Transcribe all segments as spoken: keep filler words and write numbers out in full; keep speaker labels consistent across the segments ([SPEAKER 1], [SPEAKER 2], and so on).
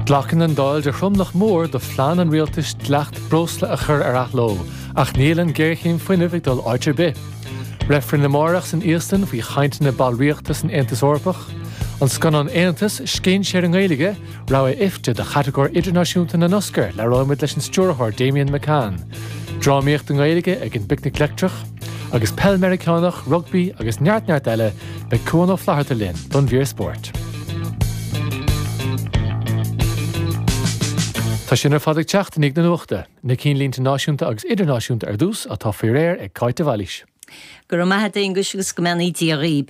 [SPEAKER 1] Glacann an Dáil de thromlach mór do phlean an rialtais dleacht breosla a chur ar athló, ach níl an ghéarchéim fuinnimh ag dul áit ar bith. Reifreann amárach san Íoslainn faoi chainteanna ballraíochta san Aontas Eorpach, an scannán Aontas scéinséir i nGaeilge, rogha IFTA do chatagóir idirnáisiúnta na nOscar labhróimid leis an stiúrthóir Damian McCann. Drámaíocht i nGaeilge ag an bPicnic Leictreach, agus peil Meiriceánach, rugbaí agus neart neart eile beidh Cuan Ó Flatharta linn don mhír spóirt. Tá sin ar fad ag teacht i ndiaidh na nuachta, na cinnlínte náisiúnta agus idirnáisiúnta ar dtús atá faoi réir ag Cáit de Bhailís.
[SPEAKER 2] Go raibh maith agat Aonghus agus go mbeannaí Dia dhaoib.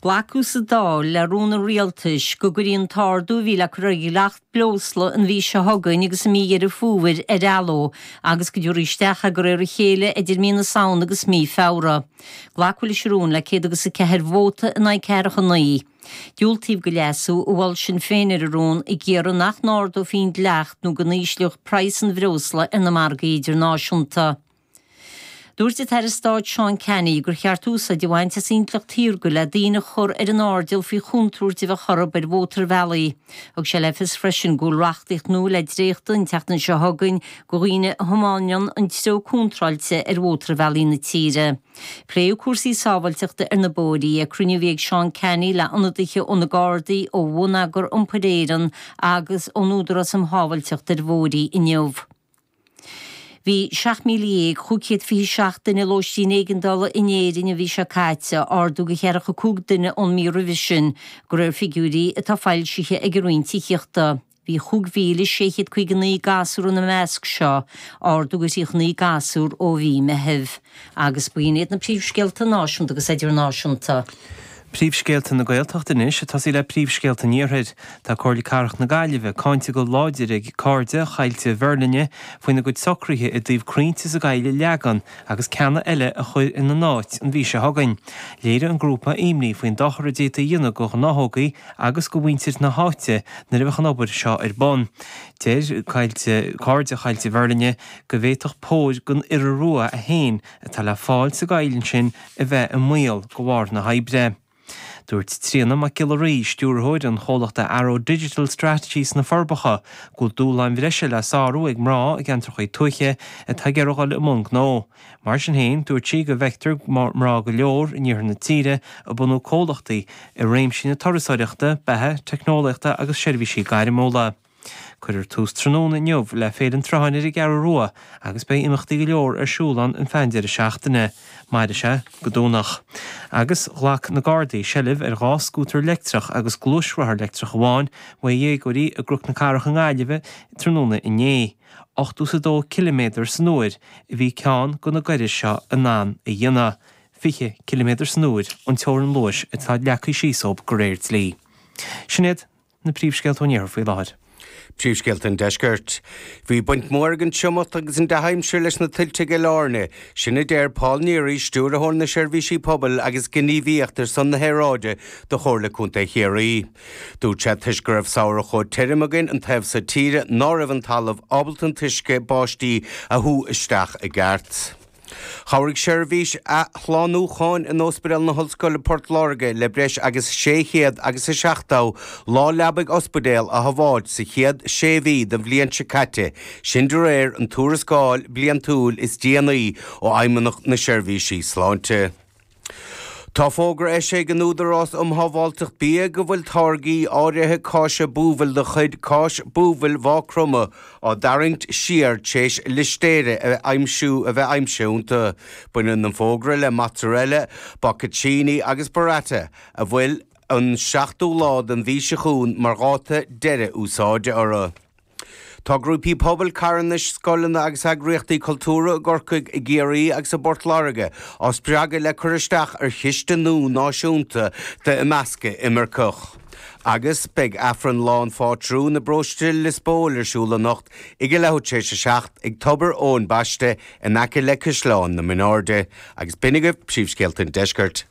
[SPEAKER 2] Glacadh sa Dáil le rún an rialtais go gcuirfí an t-ardú a bhí le cur ar dhleacht breosla an mhí seo chugainn agus i mí Dheireadh Fómhair ar athló agus go dtabharfaí isteach é de réir a chéile idir mí na Samhna agus mí Feabhra. Glacadh leis an rún le céad agus a ceathair vóta in aghaidh ceathracha naoi. Diúltaíodh do leasú a mhol Sinn Féin ar an rún ag iarraidh nach n-ardófaí an dleacht nó go n-ísleodh praghas an bhreosla ar na margaí idirnáisiúnta. Dúirt an tAire Stáit Seán Canney gur cheart úsáid a bhaint as intleacht shaorga le daoine a chur ar an airdeall faoi chontúirt a bheadh orthu ar mhótarbhealaí. Thug sé le fios freisin go bhfuil reachtaíocht nua le dréachtú an tseachtain seo chugainn do dhaoine a thiomáineann an treo contráilte ar mhótarbhealaí na tíre. Pléadh cúrsaí sábháilteachta ar na bóithrí ag cruinniú a bhí ag Seán Canney le ionadaithe ó na Gardaí, ó Bhonneagar Iompair Éireann agus ón Údarás um Shábháilteacht ar Bhóithrí inniu. Bhí seacht míle dhéag chúig chéad fiche seacht duine i lóistín éigeandála in Éirinn an mhí seo caite, ardú de cheathracha cúig duine ón mí roimhe sin, de réir figiúirí atá foilsithe ag an Roinn Tithíochta. Bhí chúig mhíle sé chéad caoga naoi gasúr ina measc seo, ardú de thríocha naoi gasúr ó mhí Meithimh. Agus b'in iad na príomhscéalta náisiúnta agus idirnáisiúnta.
[SPEAKER 3] Príomhscéalta na Gaeltachta anois, ag tosaí le príomhscéalta an Iarthair. Tá Comhairle Cathrach na Gaillimhe cáinte go láidir ag Cairde Choillte Mherlinne faoina gcuid socruithe i dtaobh crainnte sa gcoill a leagan agus ceanna eile a chur ina n-áit an mhí seo chugainn. Léirigh an grúpa imní faoin dochar a d'fhéadfaí a dhéanamh do ghnáthógaí agus do mhuintir na háite nuair a bheadh an obair seo ar bun. Deir Cairde Choillte Mherlinne go bhféadfadh póir den iora rua a haon atá le fáil sa gcoill ansin a bheith i mbaol de bharr na hoibre. Dúirt Tríona Mac Giolla Rí, stiúrthóir an chomhlachta Arrow Digital Strategy sna Forbacha, go bhfuil dúshláin bhreise le sárú ag mná i gceantracha tuaithe atá ag iarraidh dul i mbun gnó. Mar sin féin, dúirt sí go bhfeictear mná go leor in iarthar na tíre ag bunú comhlachtaí i réimsí na turasóireachta, beatha, teicneolaíochta agus seirbhísí gairmiúla. Cuirfear tús tráthnóna inniu le Féile an tSrutháin ar an gCeathrú Rua agus beidh imeachtaí go leor ar siúl ann an feadh an deireadh seachtaine. Mairfidh sé go Domhnach. Agus ghlac na Gardaí seilbh ar dhá scútar leictreach agus gluaisrothar leictreach amháin uaidh dhéagóirí i gCnoc na Cathrach i nGaillimh tráthnóna inné. Ochtó is a dó ciliméadar san uair a bhí ceann de na gairis seo in ann a dhéanamh. Fiche ciliméadar san uair an teorainn luais atá leagtha síos dóibh de réir dlí. Sin iad na príomhscéalta ón iarthar faoi láthair.
[SPEAKER 4] Príomhscéalta an Deiscirt. Bhí baint mhór ag an triomach agus an dea-aimsir leis na tuilte i gCill Airne. Sin a deir Paul Neary, Stiúrthóir na Seirbhísí Pobail agus Gníomhaíocht ar son na hAeráide do Chomhairle Contae Chiarraí. Dúirt sé toisc go raibh samhradh chomh tirim againn an taobh so tíre ná raibh an talamh ábalta an t-uisce báistí a shú isteach i gceart. Chabhraigh seirbhís athshlánúcháin in Ospidéal na hOllscoile Port Láirge le breis agus sé chéad agus a seachtó lá leabaidh ospidéil a shábháilt sa chéad sé mhí den bhliain seo caite, sin de réir an tuarascáil bliantúil is déanaí ó Fheidhmeannacht na Seirbhísí Sláinte. Tá fógra eisithe ag an Údarás um Shábháilteacht Bia go bhfuil táirgí áirithe cáise buabhaill de chuid Cáis Buabhaill Mhaigh Chromtha á dtarraingt siar tar éis listéire a aimsiú a bheith aimsithe iontu. Baineann an fógra le mozzarella, bocconcini agus burrata a bhfuil an seachtú lá den mhí seo chugainn mar dháta deireadh úsáide orthu. Tá grúpaí pobail, carthanais, scoileanna agus eagraíochtaí cultúrtha i gCorcaigh, i gCiarraí agus i bPort Láirge á spreagadh le cur isteach ar chiste nua náisiúnta d'imeascadh imirceach. Agus beidh Aifreann Lá an Phátrúin i bparóiste Lios Póil ar siúl anocht ag a leathuair tar éis a seacht ag Tobar Eoin Baiste in aice le Caisleán na Mínáirde. Agus b'in agaibh príomhscéalta an Deiscirt.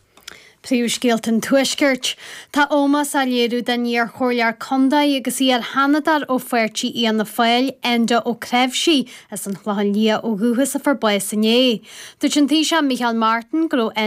[SPEAKER 5] Príomhscéalta an Tuaiscirt. Tá ómós á léiriú don iarchomhairleoir contae agus iar-sheanadóir ó pháirtí Fhianna Fáil, Enda Ó Cnáimhsí, as an Chlochán Liath ó dhúchas a fuair bás inné. Dúirt an Taoiseach Micheál Martin go raibh